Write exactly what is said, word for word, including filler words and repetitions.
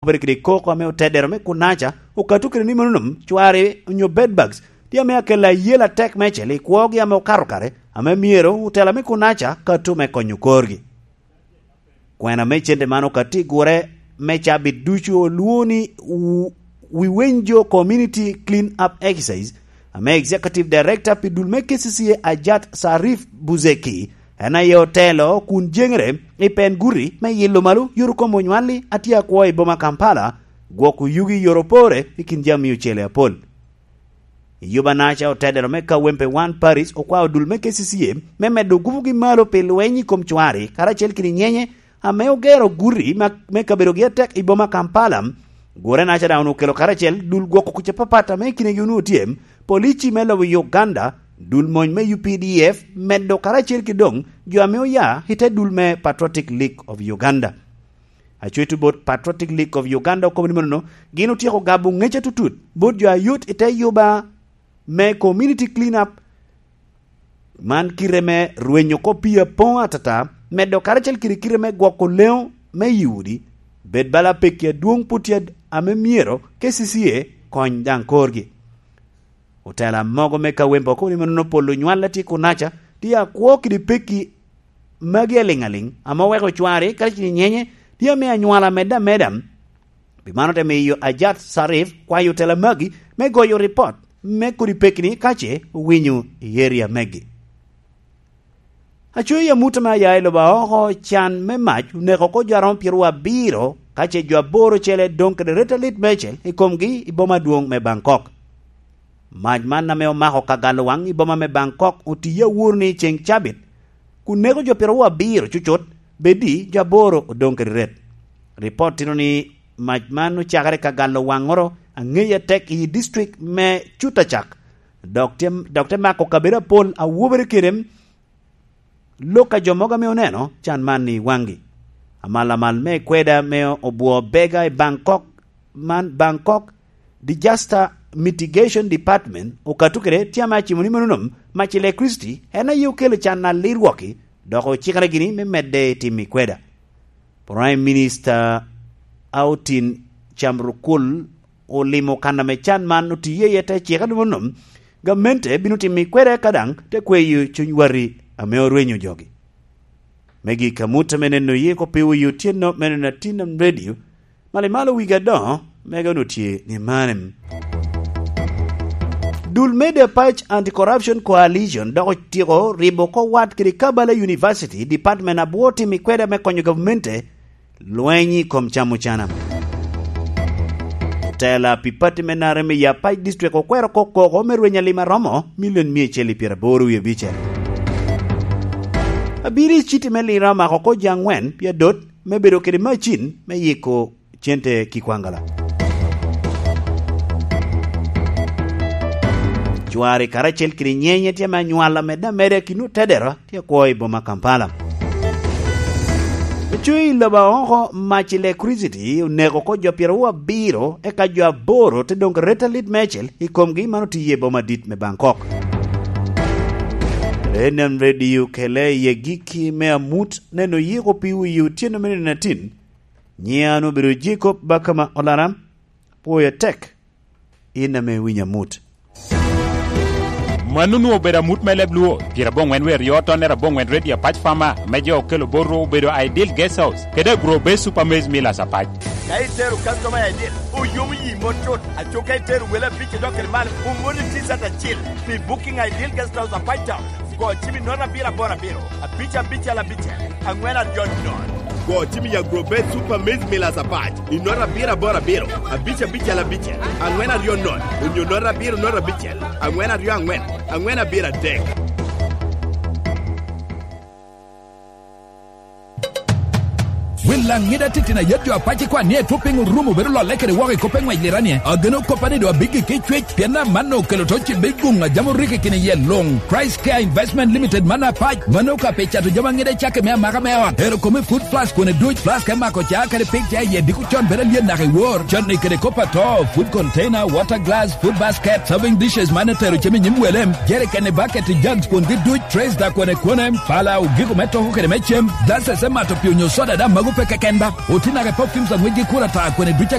pwod kede koko ame otedero me kunaca okato kede ni mano nom cwari onyo bedbugs tye ame akelo ayel atek meicel i kwogi ame okato kare, ame myero otela me kunaca kato me konyo korgi. Kwena me cente man okatti i gure me cabit ducu olwoŋo ni Wu-, Wiwenjo Community Clean Up Exercise, ame Executive Director pi dul me K C C A Ajat Sarif Buzeki en aye otelo kun jeŋere i pen guti me yilo malo yot kom onywalli a tye akwo i boma Kampala, gwoko yugi i yore opore i kin jami ocele apol. I yubanaca otedero me Kawempe One Parish okwao dul me K C C A me medo gupugi malo pi lweny i kom cwari karacel kede nyenye ame ogero guti ma-, me kabedogi atek i boma Kampala. Gure naca daŋ onwoŋo okelo karacel dul gwoko kuc apapat ame i kinegi onwoŋo tye, polici me lobo Uganda, dul mony me U P D F, medo karacel ki doŋ jo ame oya i te dul me Patriotic League of Uganda. Acwec bot Patriotic League of Uganda okobo ni manono, gin otyeko gabo ŋec atutut bot jo a yot i te yuba me community clean up, man kite me rwenyo kop pii apoŋ atata, medo karacel kede kite me gwoko leŋo me i udi, bed bala pekki adwoŋ pwod tye ame myero K C C A kony daŋ korgi. Otela mogo me Kawempe okobo ni manono polo nywal a tye kunaca tye akwo kede pekki magi aliŋ aliŋ, ame oweko cwari kadi cini nyenye tye ame anywala amedde ameda. Pi mano te miyo Ajat Sarif kwayo otela magi me goyo ripot me kodi pekki-ni ka ce owinyo i eria megi. Aco i amut ame aya i lobo aoko, can me mac oneko oko jo aromo pyeraryo abiro, ka ce jo aboro ocele doŋ kede ret alit meicel i komgi i boma adwoŋ me Bangkok. Mac man ame omako ka galo waŋ i boma me Bangkok otiye awor ni ceŋ cabit, kun neko jo pyeraryo abiro cucut, bedi jo aboro odoŋ kede ret. Ripot tito ni mac man ocakere ka galo waŋoro aŋeyi atek i district me Chutacak, dok te, dok te mako kabedo apol a wobere kede lok a jo mogo ame oneno can man i waŋgi. Amal amal me kweda me obwo bega i Bangkok, man Bangkok Disaster Mitigation Department okato kede tye ame acimo ni mano nom mac electricity en aye okelo can alir wok-ki, dok ocikere gini me medde i tim i kweda. Prime Minister Autin Chamrukul olimo kan ame can man otiye iye te cika ni mano nom, gamente bino timo i kweda ka daŋ te kweyo cuny wati ame orwenyo jogi. Me gik amut ame neno ye ko piwo i otyeno me neno atin am radio, malo malo wigi adoŋo, mege onwoŋo tye ni mane. Dul me The Patch Anti-Corruption Coalition dok otyeko ribo oko wat kede Kabala University, department abwo timo i kweda me konyo gavmente lweny i kom camo cana. Otela pi pati me N R M i Apac District okwero oko koko me rweny alim aromo milion mia acel i pyeraboro wie abicel. Abiro i citi me Lira omako oko jo aŋwen pi adot me bedo kede macin me yiko cente ki kwangala. Cwari karacel kede nyenye tye me anywal amedde ameda i kin otedero tye akwo i boma Kampala. Ocoyo i lobo aoko mac electricity oneko oko jo pyeraryo abiro, eka jo aboro te doŋ ret alit meicel i komgi man otiye i boma dit me Bangkok. Renan Radio kele i agikki me amut neno yiko pi wi otyeno me nino atin. Nyiŋa an obedo Jacob Bakama Olaram, pwoyo tek. In ame iwinyo amut. Mano onwoŋo obedo amut me leb Luo, pyerabongwen wer yo tonnere abongwen Radio Apac Farmer, me jo okelo bot ru obedo Ideal Guest House, kede Agro Base Super Maize Millers Apac. Ka itero customer I D, oyomo yi mot cut, aco ka itero wele abic idok kede malo, omoni T-shirt acil pi booking Ideal Guest House Apac Town. Go cim i note abiro aboro abiro, abic abicel abicel, angwen aryo nono. Go cim i Agrobet Super Maize Millers Apac i note abiro aboro abiro, abic abicel abicel, angwen aryo nono, onyo note abiro note abicel, angwen aryo angwen, angwen abiro adek. Wel Laŋida titino ayet jo apac ikwan ni etwo piny orumo bedo lolle kede woko i kop eŋwec liranie. Ageno koppa ni doŋ abiggi ki cwec, pien amanno okelo to cibbe i guŋ a jami orik i kine yel luŋ. Christ Care Investment Limited man apac, mano ka pe cato jami aŋida cake me amaka me ot. Ero kome food flask kone duc, flask me mako ca kede pig ca iye diko con bedo alyet naka i wor. Canni kede kop ato, food container, water glass, food basket, serving dishes man etero cem i nyim wele, jerikeni, bucket, jugs kwongi duc, trays da kone kone, pala, ogiko me toko kede me cem, glasses me mato pii onyo soda daŋ mago pe keken ba. Oti naka i perfumes aŋwec gi kura ta kone duc